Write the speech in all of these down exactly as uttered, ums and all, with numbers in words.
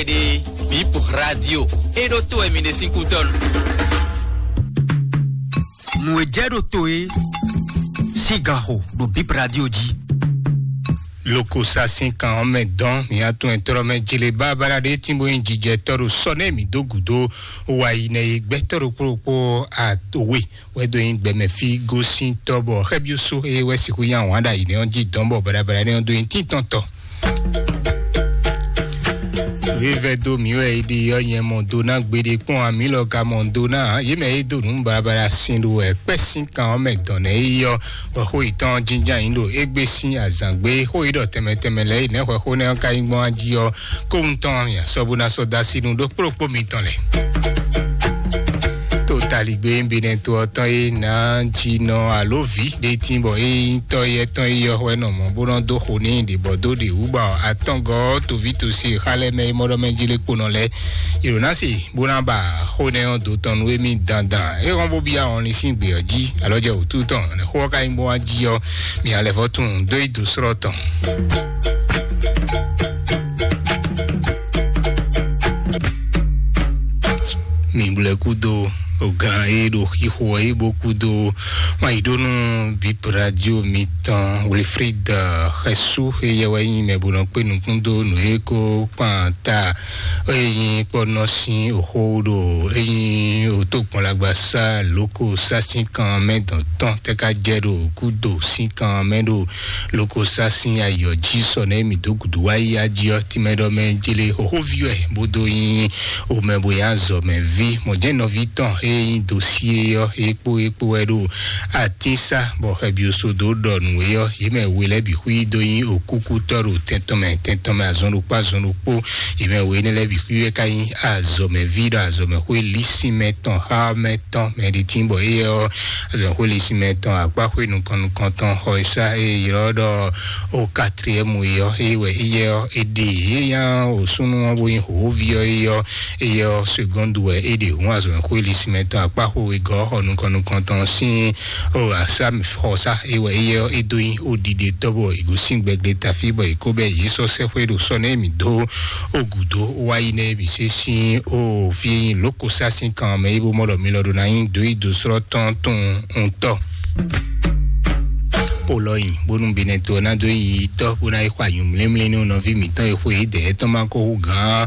ɖe Bip Radio. E ɖo to wɛ mi ɖe sín kútɔ́nu. Nǔ e jɛ ɖo to e sín gan xo ɖo Bip Radio jí. Lokosa sín kan ɔ́ mɛ dɔn mǐ atún ɛtɔ́ mɛ jele bábára ɖé tínbó nyí jijɛtɔ́ ɖo sɔ nɛ mǐ dó gǔdo wa yi nɛ e gbɛtɔ́ ɖokpó ɖokpó atowe wɛ dó nyí gbɛmɛ fí gosín tɔ́ bɔ xɛ́byúsú e wɛ sixú nyí ahwan ɖo ayi nɛ ɔ́ jí dɔn bɔ baɖabaɖa nɛ ɔ́ dó nyí tíntɔ́ntɔ́. Wíwɛ dó mǐ wɛ é ɖi ɔ́ nyɛ mɔ do ná gbeɖé kpɔ́n amǐ lɔ ka mɔ do ná yě mɛ e dó nǔ baɖabaɖa sin ɖo wɛ kpɛ́ sín kan ɔ́ mɛ dɔn nɛ é yí ɔ́ wɛ xó yětɔn jínján yín ɖo égbé sín azǎn gbé xó yí ɖɔ tɛnmɛ tɛnmɛ lɛ́ɛ yi nɛ̌ hwɛ xó nɛ́ ɔ́ ka nyí gbɔn jí ɔ́ kóhun tɔn nya sɔ bó ná sɔ́ dó así nú ɖó kplɔ́kpó mitɔn lɛ́ɛ. To taligbé Benɛto ɔ́ tɔn e ná jí nɔ alo vǐ ɖé tín bɔ é nyí tɔ́ yɛ́ tɔn e yɔ hwɛ nɔ mɔ̌ bó nɔ́ dó xo n'i ɖě bɔ dó ɖě wú bɔ atɔ́ngɔ́ toví tosi xa lɛ́ɛ mɛ e mɔ ɖɔ mɛ jí lé kponɔ lɛ́ɛ. Yonasi bó ná ba xó nɛ́ ɔ́ dó tɔn nú émí dandan. É hɔn bó byɔ́ ahɔnlin sín gbě ɔ́ jí, alɔ jɛ wǔtu tɔn, nɛ̌ xó ɔ́ ka nyí bó wá jí ɔ́, mi alɛ vɔ́ tunwun dó yi dǒ slɔ́ tɔn. Mi blɛ kúdo o gán e ɖo xixo ɔ́ e bó kúdo wá yi ɖó nú Bip Radio mitɔn Wilfrid Xɛsu e yɛ wɛ nyí mɛ bó nɔ kpé nukún dó nǔ e ko kpan ta e nyí kpɔ́nɔ sín oxó ɖo e nyí otó kpɔnlagbasa lóko sásín kan mɛ dɔn tɔn tɛ ka jɛ ɖo kúdo sín kan mɛ ɖo lóko sásín ayɔ jí sɔ nɛ mi dó gudu wá yi ají ɔ́ tínmɛ ɖɔ mɛ jele xoxóví wɛ bó dó nyí omɛ bó yá zɔ mɛ ví mɔ̌ jẹ́ nɔví tɔn e nyí dosie ɔ́ e kpó e kpó wɛ ɖo atínsá bɔ xɛbioso dó ɖɔ nǔ e ɔ́ yě mɛ we lɛ́ɛ bǐ xwí dó nyí òkúkútɔ́ ɖo tɛn tɔn mɛ tɛn tɔn mɛ azɔn ɖokpó azɔn ɖokpó. Yě mɛ we énɛ́ lɛ́ɛ bǐ xwí wɛ ka nyí azɔ̌mɛví ɖo azɔ̌mɛxwé lísínmɛ tɔn xá mɛ tɔn mɛ ɖi tín bɔ éyɛ́ ɔ́ azɔ̌mɛxwé lísínmɛ tɔn akpáxwé nukɔn nukɔn tɔn xɔ e sá e ylɔ́ ɖɔ o katriɛmu e ɔ́ é wɛ éyɛ́ ɔ́ é ɖe é nyá o súnnu ɔ́ bó nyí hǒví ɔ́ é ɔ́ éyɛ́ ɔ́ segɔ́ndu wɛ é ɖe hǔn azɔ̌mɛxwé lísínmɛ tɔn akpáxwé wegɔ́ xɔ nukɔn nukɔn tɔn sín o asá xɔsá é wɛ éyɛ́ ɔ́ é dó nyí o ɖiɖe tɔ́ bɔ è gosín gbɛgbɛ tafí bɔ è kó bɛ́ yě sɔ́ sɛ́xwé ɖo sɔ́ nɛ́ mǐ dó o gǔdo wá yi nɛ́ mǐ sé sín o fí e nyí lǒkosá sín kan mɛ é bó mɔ ɖɔ mi lɔ ɖo ná nyí dǒ yi dǒ slɔ́ tɔn tun ŋutɔ́. Polɔyi bónú Benɛto ɔ́ ná dó yi tɔ́ bó ná yi xɔ anyǔmlémlé nú nɔví mǐtɔn e xwe é dɛ̌ tɔn ma ko hú gǎn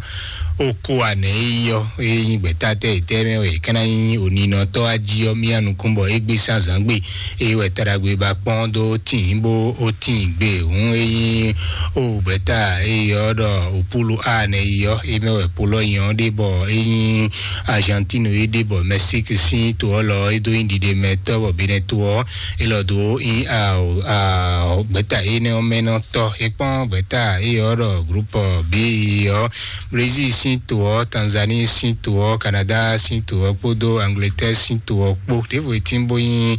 ó kó anɛ é yi ɔ́ é nyí gbɛ̌ta tɛ́ yětɛ́ mɛ wɛ é ka ná nyí oninɔtɔ́ á jí ɔ́ mía nukún bɔ é gbé sán zǎn gbe é wɛ taɖagbe ba kpɔ́n dó tíin bó ó tíin gbe hǔn é nyí ó gbɛ̌ta é yi ɔ́ ɖɔ òpúlu anɛ yi ɔ́ é mɛ wɛ polɔyi ɔ́ ɖe bɔ é nyí Argentine é ɖe bɔ Mexique sín to ɔ́ lɔ é dó nyí ɖiɖe mɛ tɔ́ bɔ Benɛto ɔ́ é lɔ dó nyí gbɛ̌ta énɛ́ ɔ́ mɛ nɔ tɔ́ é kpɔ́n gbɛ̌ta é yi ɔ́ ɖɔ groupe B ɔ́ Brésil sín to ɔ́, Tanzanie sín to ɔ́, Canada sín to ɔ́ kpódó Angleterre sín to ɔ́ kpó. Ɖěvo e tín bó nyí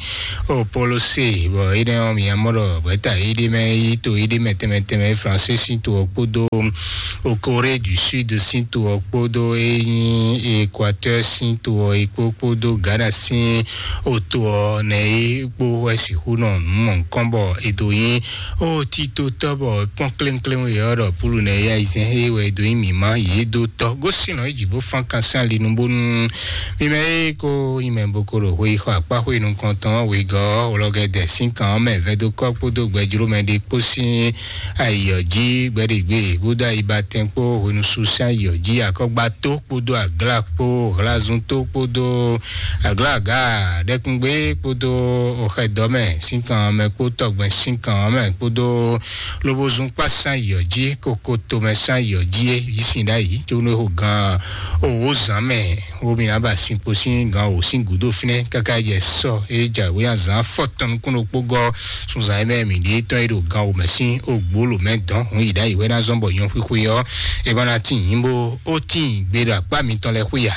o Polosé, bɔ énɛ́ ɔ́ mi mɔ ɖɔ gbɛ̌ta éɖé mɛ yi to éɖé mɛ tɛnmɛ tɛnmɛ Francais sín to ɔ́ kpódó o Corée du Sud sín to ɔ́ kpódó é nyí Équateur sín to ɔ́ é kpó kpódó Ghana sín o to ɔ́ nɛ é kpó wɛ sixú nɔ nǔ mɔ nukɔn bɔ é dó nyí o tito tɔ́ bɔ kpɔ́n kléŋkléŋ e ɔ́ ɖɔ púlu nɛ yá izɛn é wɛ dó nyí mǐmá yě dó tɔ́ gosín nɔ é jǐ bó fán kan sín ali nu bónú mi mɛ é kó nyí mɛ bó kó ɖo xwé yi xɔ akpá xwé nukɔntɔn wegɔ́ olɔgɛdɛ sín kan ɔ́ mɛ vɛdókɔ́ kpódó gbɛjlómɛ ɖé kpó sín ayiyɔ jí gbɛɖegbe bó dó ayibatɛn kpó hwenusu sín ayiyɔ jí akɔgbato kpódó aglá kpó hlazunto kpódó aglá aga ɖɛkúngbé kpódó oxɛdɔmɛ sín kan mɛ kpó tɔgbɛn sín kan mɛ kpódó lobozun kpá sín ayiyɔ jí koko tomɛ sín ayiyɔ jí é yí sin ɖ'ayǐ tso nú eho gan owó zǎn mɛ wo mi ná ba sin kpo sín gan wǒ sín gǔdo fínɛ́ káká jɛ sɔ é jǎwe azǎn fɔtɔn nukún ɖokpó gɔ́ sunzan e mɛ mǐ ɖe tɔn e ɖo gan wǒ mɛ sín ogbó lǒ mɛ dɔn hun yi ɖ'ayǐ wɛ ná zɔ́n bɔ nyɔ xwixwe ɔ́ é ma ná tín nyí bó ó tín gbe ɖo akpá mitɔn lɛ́ɛ xwé ya.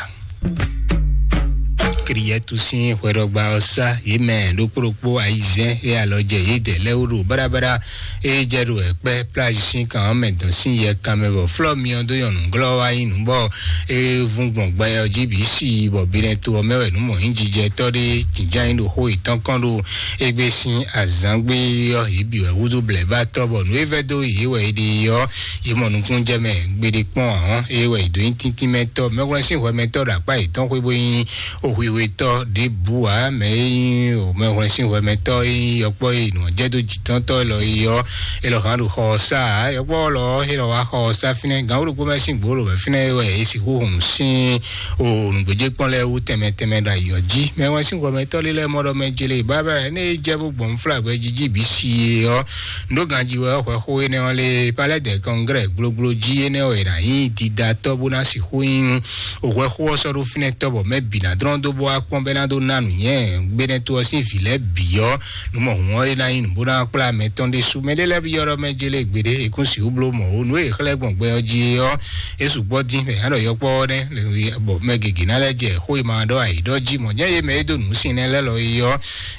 Kriyɛtu sín hwɛɖɔgba ɔ́ sá yě mɛ ɖokpó ɖokpó ayizɛ́n e alɔ jɛ yědɛɛ lɛ́ɛ wú ɖo báɖabáɖá E jɛ ɖo ɛkpɛ plage sín kan mɛ dɔn sín yɛ kan mɛ bɔ flɔ miɔ dó yɔnu glɔ wá yí nǔ bɔ e vun gbɔn gbɛ ɔ jí bǐ si bɔ binɛ to ɔ mɛ wɛ nǔ mɔ yín jijɛ tɔ ɖé jǐjá yín ɖo xó yětɔn kɔn ɖo egbe sín azǎngbe ɔ yě bǐ wɛ wúzú blɛ bá tɔ bɔ nǔ e vɛ dó yě wɛ é ɖe ɔ yě mɔ nukún jɛ mɛ gbeɖé kpɔn ahɔn e wɛ yě dó yín tíntín mɛ tɔ mɛwlɛ sín hwɛ mɛ tɔ ɖo akpá yětɔn xwé bó yín o hwihwetɔ ɖěbǔ ǎ, mɛ e nyí o mɛhwlɛ́nsínhwɛmɛtɔ́ e nyí yɔkpɔ́ e nǔ jɛ dó jǐtɔ́ntɔ́ élɔ́ é ɔ́, élɔ́ hán ɖo xɔ ɔ́ sá ǎ. Yɔkpɔ́ lɔ ɔ́, élɔ́ wá xɔ ɔ́ sá fínɛ́. Gǎn ɖokpó mɛ sín gbǒ lobɛ fínɛ́ é wɛ é sixú hun sín o nǔgbéjé kpɔ́n lɛ́ɛ wú tɛnmɛ tɛnmɛ ɖo ayǐ ɔ́ jí. Mɛhwlɛ́nsínhwɛmɛtɔ́ lé lɛ́ɛ mɔ ɖɔ mɛ jele bábá ɛ ní é jɛ bó gbɔn fúlàgbɛ jí jí bǐ si é ɔ́, nǔ ganjí wɛ ɔ́ hwɛ xó énɛ́ ɔ́ lé palɛ́dɛ kɔngrɛ gblógbló jí énɛ́ wɛ è nǎ nyí dídatɔ́ bó ná sixú nyí òhwɛ xó ɔ́ sɔ́ ɖó fínɛ́ tɔ́ bɔ mɛ bǐ ná dlɔ́n dó bó wá kpɔ́n bɛ́ ná dó ná nǔ nyɛ gbénɛ́ tó ɔ́ sín vǐ lɛ́ɛ bǐ ɔ́, nǔ mɔ hǔn ɔ́ é ná nyí nǔ bó ná kplá mɛ tɔn ɖésú. Mɛ ɖé lɛ́ɛ byɔ́ ɖɔ mɛ jélé gbeɖé è kún sixú bló mɔ̌ ó. Nǔ e è xlɛ́ gbɔn gbɛ ɔ́ jí é ɔ́, é sɔ́ gbɔ dín mɛ ǎ ɖɔ yɔkpɔ́ ɔ́ nɛ́ bɔ mɛ gěgé ná lɛ́ jɛ xó e ma ɖɔ ayǐ ɖɔ jí mɔ̌ nyɛ yé mɛ é dó nǔ sin nɛ́ lɛ́ lɔ é ɔ́,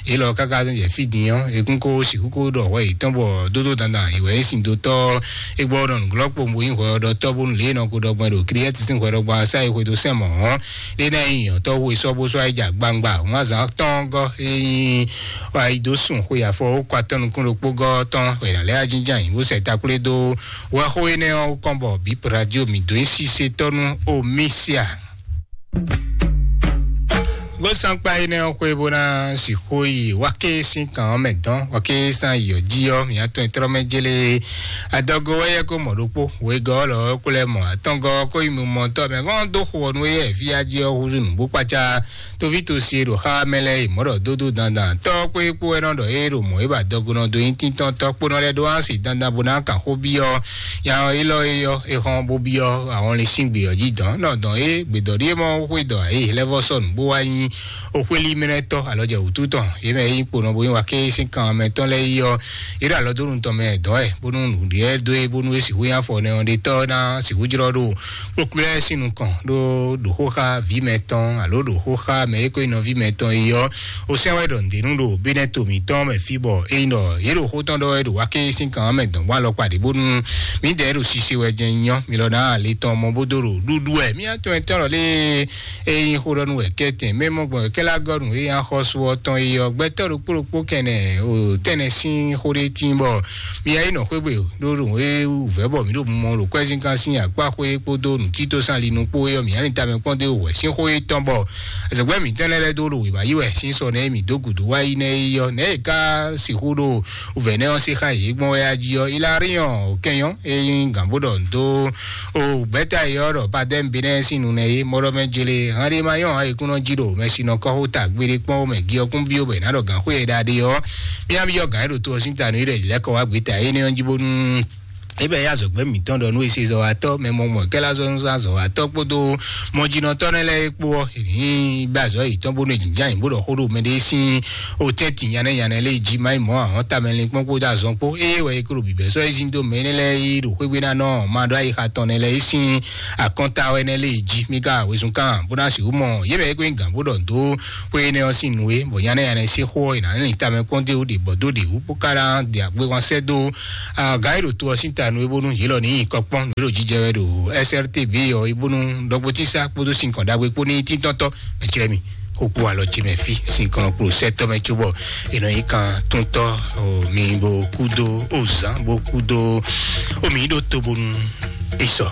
é lɔ káká jɛ fí din ɔ́, è kún kó sixú kó ɖɔ hwɛ yětɔn bɔ dódó dandan è wɛ é sin dó tɔ́ é gbɔ nɔ nǔglɔ́ kpowun bó nyí hwɛ ɔ́ ɖɔ tɔ́ bónú lě e nɔ ko ɖɔ gbɔn ɖo Kiliyɛ́ti sín hwɛ ɖɔgbɔ ɔ́ sá yi xwedó sɛn mɔ̌ ɔ́, é ná nyí nyɔ̌tɔ́ hu e sɔ́ bó sɔ́ yi jɛ agbangbà wǎnzán tɔn gɔ́ é nyí ayidosùn xwe afɔ ó kɔ atɔ́ nukún ɖokpó gɔ́ tɔn hwɛ̌ ná lɛ́ ajínján yǐ bó sɛ takwlé dó wɛxó énɛ́ ɔ́ kɔn bɔ bǐ radio mǐ dó nyí sísetɔ́ nú Omisia. Bó sɔ́n kpa énɛ́ ɔ́ xwé bó ná sixú yi wáké sín kan ɔ́ mɛ dɔn, wáké sín ayǐ ɔ́ jí ɔ́, mǐ atɔn e tlɔ́ mɛ jélé adɔgo wɛ yɛ kó mɔ ɖokpó, wegɔ́ lɔ ɔ́ kó lɛ́ mɔ atɔ́ngɔ́ kó yi mɔ tɔ́ mɛ gɔ́n dó xo ɔ́ nú éyɛ́ fí á jí ɔ́ húzú nǔgbó kpácá. Tóví tosi e ɖo xá mɛ lɛ́ɛ yi mɔ̌ ɖɔ dódó dandan tɔ́ kpó é kpó wɛ nɔ ɖɔ é ɖo mɔ̌ é ba dɔgo nɔ dó nyí tíntɔ́n tɔ́ kpó nɔ lɛ́ ɖó á se dandan bó ná kan xó byɔ́ nya ɔ́ élɔ́ é ɔ́ é xɔ́n bó byɔ́ ahɔnlin sín gbě ɔ́ jí dɔn nɔ dɔn é gbědɔ̌ ɖíe mɔ xwé dɔ ayǐ lɛ́ vɔ́ sɔ́ nǔgbó wá nyí o xwéli mɛ lɛ́ɛ tɔ́ alɔ jɛ wǔtu tɔn yě mɛ e nyí kponɔ bó nyí wa ké sín kan mɛ tɔn lɛ́ɛ yi ɔ́, yě ɖo alɔ dó nu tɔn mɛ dɔn ɛ bónú nǔɖiɖɛ dó e bónú é sixú nyí afɔ nɛ ɔ́ ɖe tɔ́ ná sixú jlɔ́ ɖo kpókplé lɛ́ɛ sín nukɔn ɖó ɖo xó xá vǐ mɛ tɔn alo ɖo xó xá mɛ e ko nyí nɔví mɛ tɔn yi ɔ́, o sɛn wɛ ɖɔ nǔɖé nú ɖo bénɛ́ to mǐtɔn mɛ fí bɔ é nyí ɖɔ yě ɖo xó tɔn ɖɔ wɛ ɖo wa ké sín kan mɛ dɔn bó alɔkpa ɖě bónú mǐdɛɛ ɖo sise wɛ jɛ nyɔ mi lɔ ná ale tɔn mɔ bó dó ɖo ɖuɖu wɛ mí atɔn ɛtɔn lɔ lé. Eye xó ɖɔ nú wɛ kɛtɛn mɛ mɔ gbɔn kɛlɛ agɔnu eye axɔsu ɔtɔn eye ɔgbɛtɔ ɖokpó ɖokpó kɛnɛ o tɛnɛ sín xó ɖé tín bɔ mi ayi nɔ xwégbe ɖó ɖo e wú vɛ bɔ mi ɖo mɔ ɖo kwɛzinkan sín akpá xwé kpódó nutito sín alinu kpó eyɔ mi ani tamɛ kpɔn dé wɛ sín xó etɔn bɔ azɔgbɛ mi tɛnɛ lɛ dó ɖo wěma yi wɛ sín sɔ nɛ mi dó gudu wá yi nɛ eyɔ nɛ e ka sixú ɖo wúvɛ nɛ ɔ́ sí xa yě gbɔn wɛ ají ɔ́ ilariɔn òkɛnyɔ eye gǎn bó ɖɔ ndo o gbɛta yi ɔ́ ɖɔ padɛm benɛ sín nu nɛ yé mɔɖɔ mɛ jele hande ma yɔn ayikúnɔ jí ɖo mɛ sinɔ kɔxó ta gbére kpɔn mɛ giɔkún bio bɛ ná ɖɔ gǎn xwé yɛ ɖaɖe ɔ́ mía byɔ́ gǎn e ɖo to ɔ́ sín ta nú yi ɖɛ lɛ́kɔ wá gbeta énɛ́ ɔ́ jí bónú ebe ya zɔgbɛ mǐtɔn ɖɔ nú esi zɔwatɔ mɛ mɔmɔ kɛlɛ azɔ nú zɔwatɔ kpódó mɔjínɔtɔ nɛ lɛ kpó ɔ́ ní bɛ azɔ yìí tɔn bónú jǐnján yìí bó ɖɔ xó ɖo mɛ ɖé sín o tɛ́ntin nyanɛ nyanɛ lé jí má yi mɔ ahɔn tamɛ lin kpɔn kpódó azɔn kpó eye wɛ kúrò bìbɛ sɔ ezi dó mɛ nɛ lɛ yi ɖo xwégbé ná nɔ ma ɖɔ ayi xa tɔn nɛ lɛ yi sín akɔnta wɛ nɛ lé jí mi ka wezun kan bó ná sixú mɔ yé bɛ é kó gán bó ɖɔ dó xwé nɛ ɔ́ sín nǔ é bɔ nyanɛ nyanɛ sí xó ɔ́ yě ná lin tamɛ kpɔn dé wú ɖe bɔ dó ɖe wú bó ká ná de agbé wan sɛ dó aga e ɖo to ɔ́ sín ta nú é bónú yě lɔ ní nyi kɔ kpɔ́n nǔ e ɖo jijɛ wɛ ɖo S R T B ɔ é bónú ɖɔgbotísá kpódó sinkɔn ɖagbe kpó ní tíntɔ́ntɔ́ mɛ clɛ́ mi xó kpó alɔ ce mɛ fí sinkɔn kpó sɛtɔ́ mɛ cóbɔ è nɔ nyí kan túntɔ́ o mi bo kúdó o zán bó kúdó o mi ɖó to bónú é sɔ.